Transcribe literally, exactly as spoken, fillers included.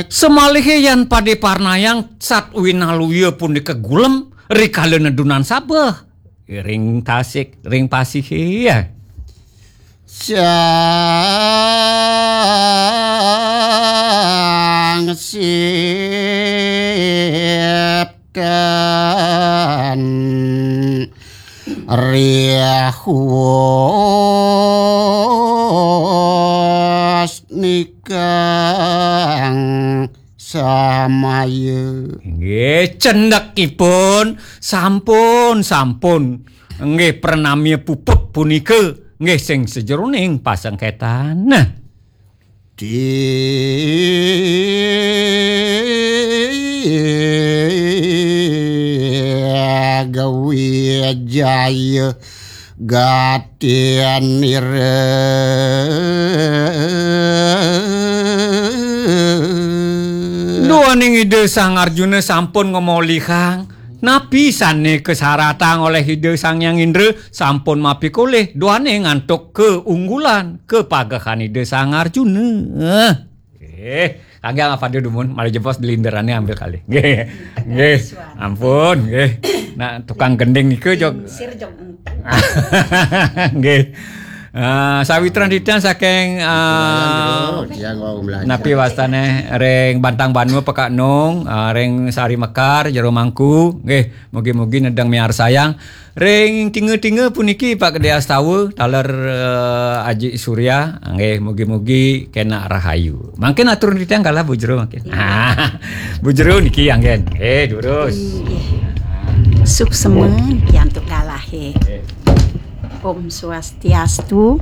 Semalihe yan pade parnayang sat winaluya punika gulem rikala nedunan sabeh ring tasik, ring pasihe, ya. Sang Sipkan Rihus Nikang Samaya. Nggih, cendekipun sampun, sampun. Nggih, pranamya puput punika nggih sing sajeroning pasengketan. Nah. Di Gawijaya Gatinira. Duaning Ida Sang Arjuna sampun ngamolihang napi sane kasaratang oleh Ida Sang Hyang Indra, sampun mapikolih duaning antuk keunggulan, kepagehan Ida Sang Arjuna. Eh, kangge apa dumun, malah jebos delinderane ambil kali. Nggih. Nggih. Ampun, nggih. Nah, tukang gending nika jog. Sir jog. Nggih. Ah, sawitran titiang saking, ah, Tiang wau melajah. Napi wastane ring Bantang Banua Pekak Nung, ah, ring Sari Mekar, Jero Mangku, nggih, mugi-mugi nedeng miarsayang. Ring tinga-tinga puniki Pak Gede Astawa, taler, eh, Aji Surya, nggih, mugi-mugi kena rahayu. Mangkin atur titiang galah Bu Jero mangkin. Iya. Bu Jero niki anggen. Eh, durus. Inggih. Suksema niki antuk galahe. Om Swastiastu.